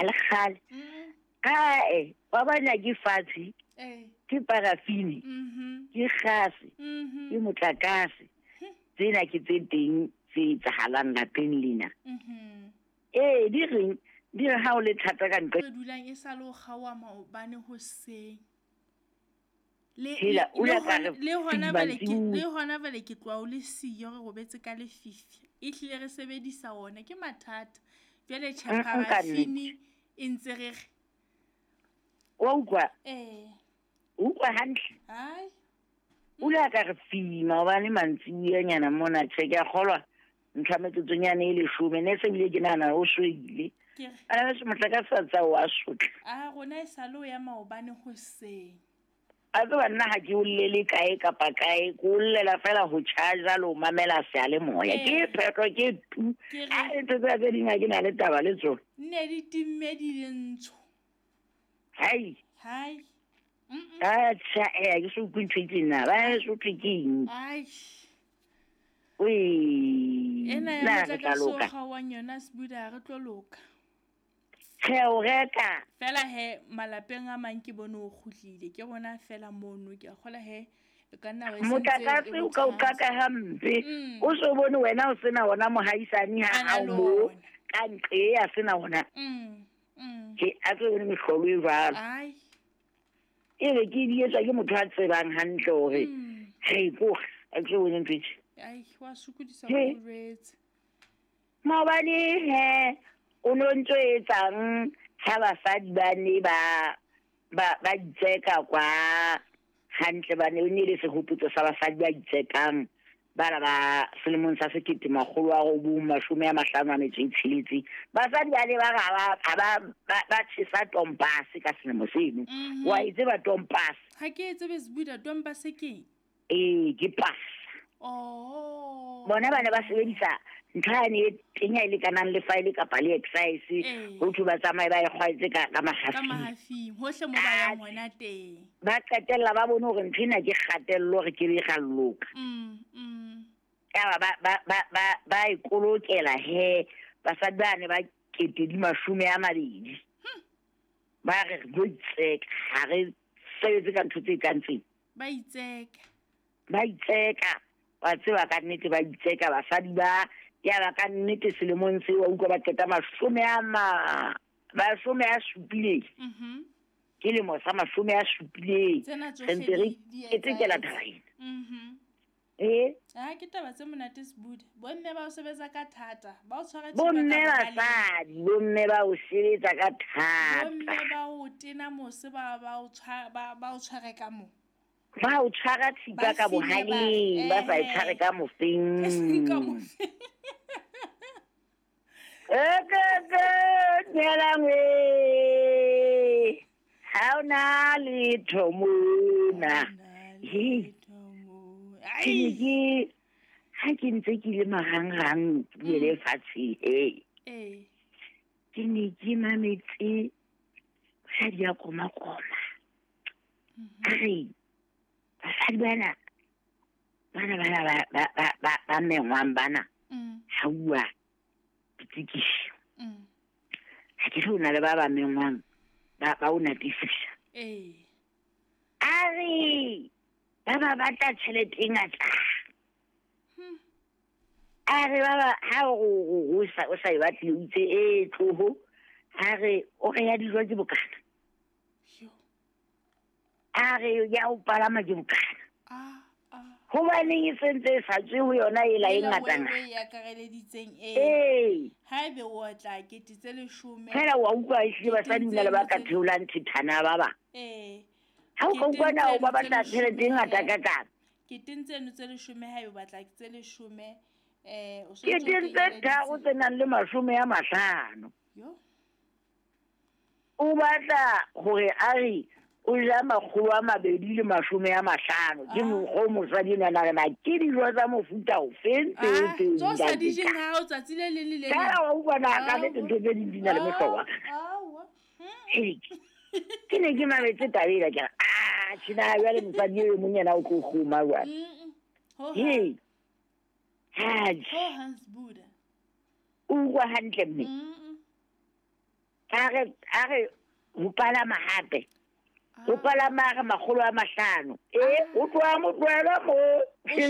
Ha le kgale. Ae, wa bona ke fatshe. Ke parafini. Ke gase. Ke motlakase. Tsena ke tse teng tse etsahalang lapeng lena. Ee, di reng? Di re ha o le thata ka ntle. Re dulang e sa le o kgaoha maobane hoseng. Le Hela, o le la ka re le hona jwale ke mantsibuya. le hona jwale ke tloha o le siyo re robetse ka lefifi. Ehlile re sebedisa ona ke mathata. Jwale tjhe Ka nnete. parafini e ntse re re. Wa utlwa? Ee. O utlwa hantle? Hai. O la ka re fima hobane mantsibuya-nyana mona tjhe ke a kgolwa ntlha metsotsonyana e leshome ne se bile ke nahana o shwele. Ke re. Bana beso motlakase wa tsa wa sotla. A rona e sale o ya maobane hoseng. A tseba nna ha ke o llele kae kapa kae, ke o llela fela ho charger le ho mamela seyalemoya. Ke phetho ke tu. Ke re. A ntho tsena tse ding ha ke na le taba le tsona. Nne di timme di le ntsho. Hai. Hai. Atjha, eh, ha ke so utlwe ntho e tjena. Ba so thwe ke eng? Ai. Wee. Ena ya Na re tla motlakase o loka. kgaohang yona Sbuda ha re tlo loka. Tjhe, o reka. Fela he malapeng a mang ke bone o kgutlile. Ke rona fela mono ke a kgola he e ka nna wa e sentse Motlakase e o ka o bothata. qaka hampe. O so bone wena o sena ona mohaisane ha A na hao le moo ona. ka nqe a sena ona. Ke a tlo bone mehlolo e jwalo. Ai. E be ke di etswa ke motho a tsebang hantle hore re ko a tlo bone ntho e tje. Ai, wa sokodisa He. ho jwetse. Maobane he o no ntso etsang ha basadi ba ne ba ba ba itseka kwa hantle ba ne o ne le sehopotso sa basadi ba itsekang bana ba selemong sa 1956. Basadi ba ne ba re ha ba ba ba tjhesa tompase ka selemo seno. Wa e tseba tompase? Ha ke e tsebe Sbuda, tompase ke eng? Ee, ke pasa. Oh. Bona ba ne ba sebedisa ntho yane e tenya e lekanang le file kapa le excise. Ho thwe ba tsamaye ba e kgwaetse ka Ka mahafing. mahafing, hohle mo ba yang hona teng. Ba qetella ba bone hore ntho ena ke kgatello re ke be ra loka. Yaba ba ba ba ba ba e kolokela he basadi ba ne ba kete di 20. Ba re re tlo itseka, ha re sebetse ka ntho tse kang tsena. Ba itseka. Ba itseka. Wa tseba ka nnete ba itseka basadi ba ya ba ka nnete selemong seo wa utlwa ba qeta 70. Ke lemo sa 70. Tsena Re tsohle ntse re di ketekela etsahetse. taba ena. Eh? Ah, ke taba tse monate Sbuda. Bomme ba o sebetsa ka thata, ba o tshwara thipa Bomme ka bohaleng. basadi, bomme ba o sebetsa ka thata. Bomme ba o tena mose ba ba o tshwara ba ba o tshware ka mo. Ba o tshwara thipa Ba ka file ba re, bohaleng, ba sa e ehe. tshware ka mofeng. E seng ka mofeng. Ekeke, dumelang we. Ha hona letho mona. He. Ke ne ke ha ke ntse ke le marangrang ke buele fatshe he. Ee. Ke ne ke mametse mosadi ya koma-koma. A re basadi bana bana bana ba ba ba ba ba mengwang bana ha uwa ditsekiso. Ha ke re o na le ba ba mengwang ba ba o natefisa. Ee. A re ba ba batla tjhelete e ngata. A re ba ba ha o o sa o sa e batle o itse e tloho. A re o re ya dijo ke bokana. A re ya o palama ke bokana. Hobaneng e sentse e sa tswe ho yona ela e Ela ngata o ngata. e akareleditseng e. Ee. Haebe o otla kete tse leshome. Fela wa utlwa ehlile basadi ho na le ba ka theolang thethana ba bang. Ee. Ha o ka Keteng utlwa na o tseno ba tse batla tjhelete e leshome, ngata eh. ka kang. Keteng tseno tse leshome haebe o batla tse leshome, o so ntso o Keteng tse tharo kenyeleditse. tse nang le 50. Yo. O batla hore a re o ja 250. Ke mokgwa o mosadi enwa a re na ke dijo tsa mofuta ofeng tseo Ah, tseo tso sa ntate di jeng ka? ha o tsatsi le leng le le leng. Fela wa utlwa na ka nnete ntho tse ding di na le mehlokwa. Aowa. Hei, ke ne ke mametse taba ena ke re, ah, tjena jwale mosadi eo mong yena o tlo kgoma jwale. Ho Hei. Atjhe. Ho hang Sbuda. O utlwa hantle mme? A re a re ho palama hape. Ho palama a re 500. E o tloha mo tlohela mo.